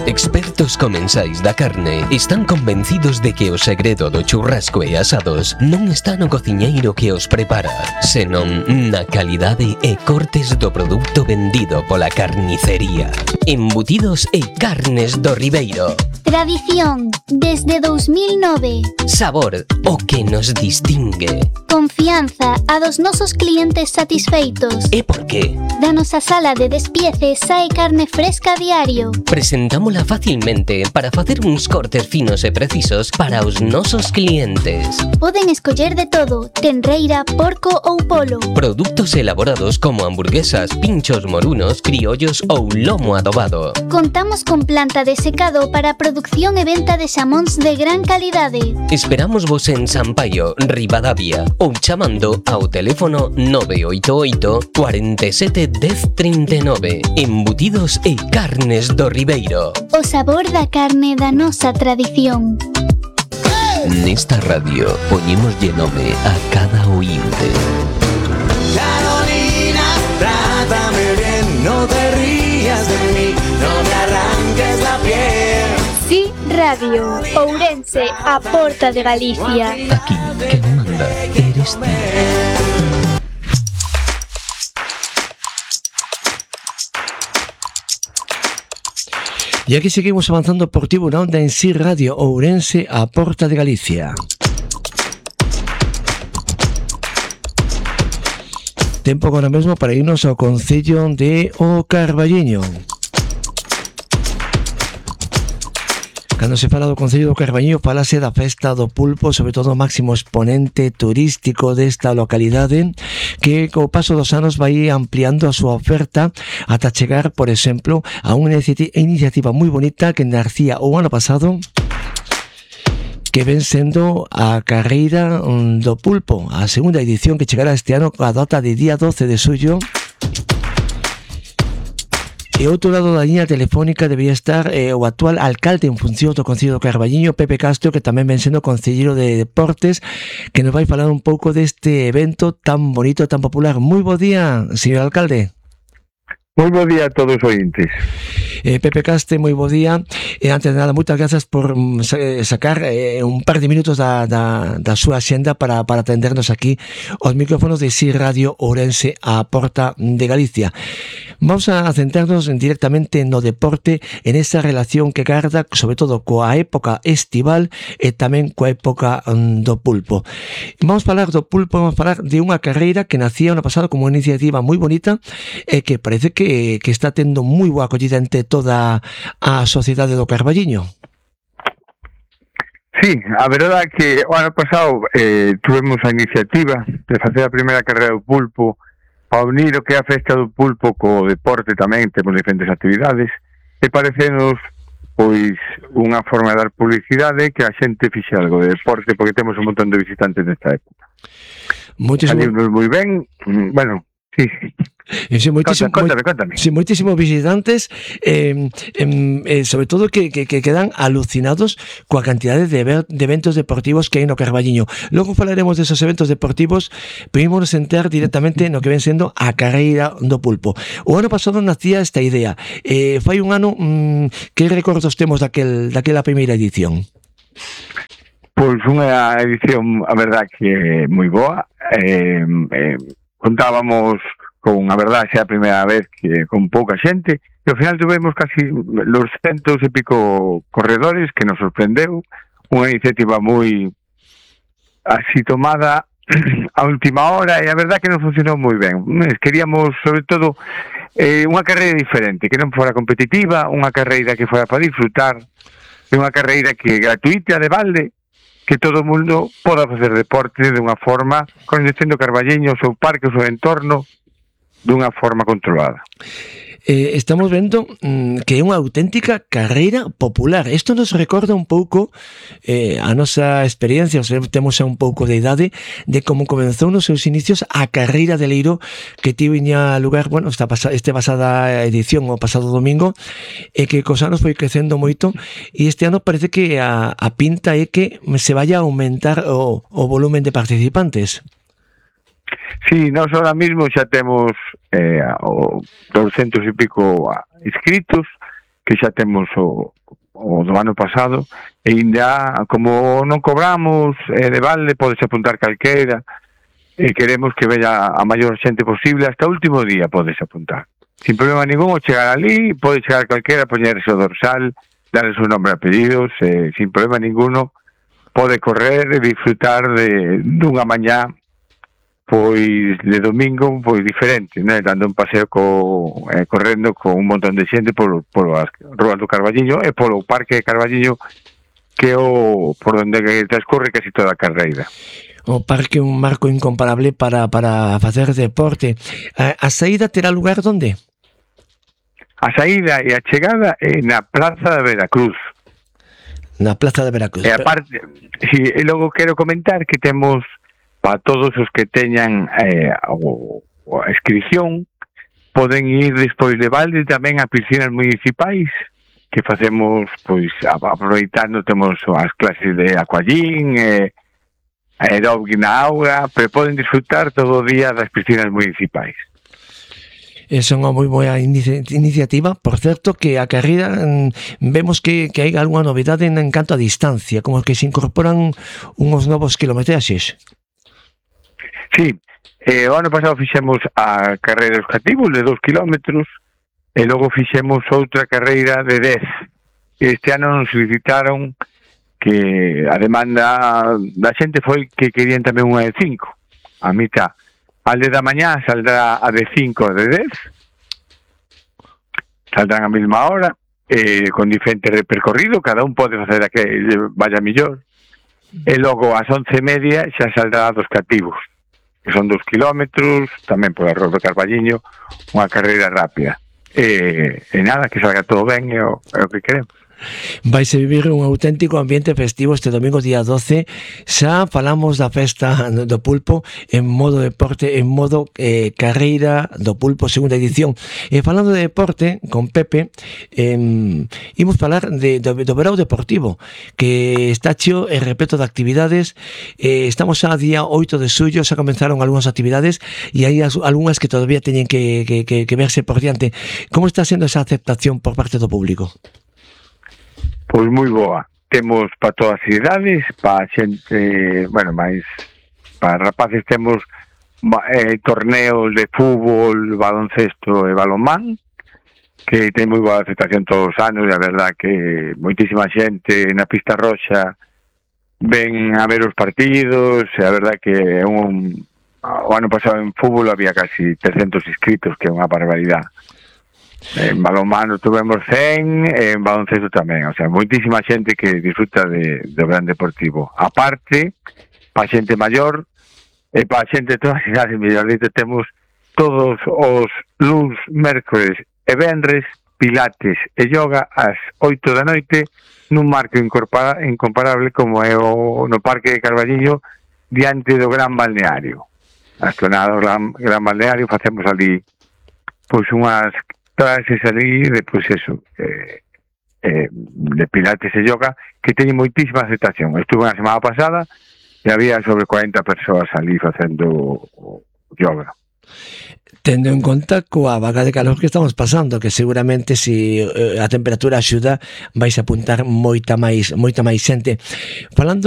Expertos comensais da carne están convencidos de que o segredo do churrasco e asados non está no cociñeiro que os prepara, senón na calidade e cortes do produto vendido pola carnicería. Embutidos e carnes do Ribeiro. Tradición, desde 2009. Sabor, o que nos distingue. Confianza, a dos nosos clientes satisfeitos. E por qué? Da nosa sala de despiece sae carne fresca a diario. Presentámola facilmente para facer uns cortes finos e precisos para os nosos clientes. Poden escoller de todo, tenreira, porco ou polo. Produtos elaborados como hamburguesas, pinchos morunos, criollos ou lomo adobado. Contamos con planta de secado para producción e venta de xamóns de gran calidade. Esperamos vos en Sampaio, Ribadavia, ou chamando ao teléfono 988 47 10 39. Embutidos e carnes do Ribeiro. O sabor da carne da nosa tradición. Nesta radio poñémoslle nome a cada oínte. Carolina, trátame bien, no te rías de mí, no me arranques la piel. Sí, Radio Ourense, a porta de Galicia. Aquí quen manda eres ti. E aquí seguimos avanzando por Tiburón en Sí Radio Ourense, a porta de Galicia. Tempo agora mesmo para irnos ao concello de O Carballiño. Cando se fala do Concello do Carballiño, falase da festa do pulpo, sobre todo o máximo exponente turístico desta localidade, que co paso dos anos vai ampliando a súa oferta ata chegar, por exemplo, a unha iniciativa moi bonita que nacía o ano pasado, que ven sendo a carreira do pulpo, a segunda edición que chegará este ano coa data de día 12 de xullo. E outro lado da liña telefónica debía estar o actual alcalde en función do Concello do Carballiño, Pepe Castro, que tamén ven sendo concelleiro de deportes, que nos vai falar un pouco deste evento tan bonito, tan popular. Moi bo día, señor alcalde. Moi bo día a todos os ointes. Pepe Caste, moi bo día. Antes de nada, moitas grazas por sacar un par de minutos da súa axenda para atendernos aquí aos micrófonos de Sí Radio Ourense, a porta de Galicia. Vamos a centrarnos directamente no deporte, en esa relación que garda, sobre todo coa época estival e tamén coa época do pulpo. Vamos a falar do pulpo, vamos a falar de unha carreira que nacía ano pasado como unha iniciativa moi bonita e que parece que está tendo moi boa acollida entre toda a sociedade do Carballiño. Sí, a verdade é que o ano pasado tuvemos a iniciativa de facer a primeira carreira do pulpo para unir o que é a festa do pulpo co deporte tamén, temos diferentes actividades, e parecenos pois unha forma de dar publicidade que a xente fixe algo de deporte, porque temos un montón de visitantes nesta época. Salimos moi ben, bueno, sí. Contame. Sí, moitísimos visitantes, sobre todo que quedan alucinados coa cantidade de eventos deportivos que hai no Carballiño. Logo falaremos desos eventos deportivos, pero ímonos entrar directamente no que ven sendo a carreira do pulpo. O ano pasado nacía esta idea. Fai un ano, que recordos temos daquela primeira edición? Pois unha edición, a verdad, que é moi boa. Contábamos con, a verdade, xa a primeira vez que con pouca xente, e ao final tuvemos casi los 100 e pico corredores, que nos sorprendeu, unha iniciativa moi así tomada a última hora, e a verdade que non funcionou moi ben. Queríamos, sobre todo, unha carreira diferente, que non fora competitiva, unha carreira que fora para disfrutar, e unha carreira que gratuita, de balde, que todo o mundo poda facer deporte de unha forma, coñecendo Carballiño, o seu parque, o seu entorno, dunha forma controlada. Estamos vendo que é unha auténtica carreira popular. Isto nos recorda un pouco a nosa experiencia, temos un pouco de idade, de como comenzou nos seus inicios a carreira de Leiro, que tiña lugar, bueno, esta pasada edición, o pasado domingo, e que cos anos foi crecendo moito, e este ano parece que a pinta é que se vaya a aumentar o volumen de participantes. Sí, nós ahora mismo xa temos 200 e pico inscritos, que xa temos o do ano pasado, e ainda, como non cobramos de balde, podes apuntar calqueira, e queremos que veña a maior xente posible, hasta o último día podes apuntar. Sin problema ningún, o chegar ali, pode chegar calquera, poñerse o dorsal, darle o nome e apellidos, sin problema ninguno, pode correr e disfrutar dunha mañá pois de domingo pois diferente, né? Dando un paseo correndo con un montón de xente polo as ruas do Carballiño e polo Parque de Carballiño, que é por onde transcorre casi toda a carreira. O parque é un marco incomparable para facer deporte. A saída terá lugar onde? A saída e a chegada é na Plaza de Veracruz. Na Plaza de Veracruz. E aparte, e logo quero comentar que temos para todos os que teñan a inscripción, poden ir despois de balde tamén a piscinas municipais, que facemos, pois, aproveitando, temos as clases de aquagym, aeróbic na auga, pero poden disfrutar todo o día das piscinas municipais. É unha moi boa iniciativa. Por certo, que a carreira vemos que hai algunha novidade en canto a distancia, como que se incorporan unhos novos kilometraxes. Sí, o ano pasado fixemos a carreira dos cativos de 2 kilómetros e logo fixemos outra carreira de 10. Este ano nos solicitaron que a demanda da xente foi que querían tamén unha de 5. A mitad. Al de da mañá saldrá a de 5 e de 10. Saldrán a mesma hora, con diferente percorrido, cada un pode facer a que vaya millor. E logo ás 11:30 xa saldrá a dos cativos, que son 2 kilómetros, tamén por a Rua do Carballiño, unha carreira rápida. E nada, que salga todo ben, é o que queremos. Vaise vivir un auténtico ambiente festivo este domingo día 12. Xa falamos da festa do pulpo en modo deporte, en modo carreira do pulpo segunda edición. E falando de deporte, con Pepe, imos falar do verao deportivo, que está cheo e repleto de actividades. Estamos a día 8 de xullo, xa comenzaron algunhas actividades e hai algunhas que todavía teñen que verse por diante. Como está sendo esa aceptación por parte do público? Pois moi boa. Temos para todas as idades, para xente, bueno, máis para rapaces temos torneos de fútbol, baloncesto e balonmán, que ten moi boa aceptación todos os anos, e a verdad que moitísima xente na pista roxa ven a ver os partidos, e a verdad que o ano pasado en fútbol había casi 300 inscritos, que é unha barbaridade. En balonmano tuvemos 100, en baloncesto tamén, o sea, moitísima xente que disfruta do gran deportivo. A parte, pa xente maior e pa xente de todas as idades, mellor dito, temos todos os luns, mércores e venres, pilates e yoga ás 8 da noite nun marco incomparable como é no Parque de Carballiño, diante do Gran Balneario. A zona do Gran Balneario facemos ali pois unhas clases ali de, pois eso, de pilates e yoga, que teñen moitísima aceptación. Estuve a semana pasada e había sobre 40 persoas ali facendo yoga. Tendo en conta coa vaga de calor que estamos pasando, que seguramente se a temperatura axuda vais a apuntar moita máis xente. Falando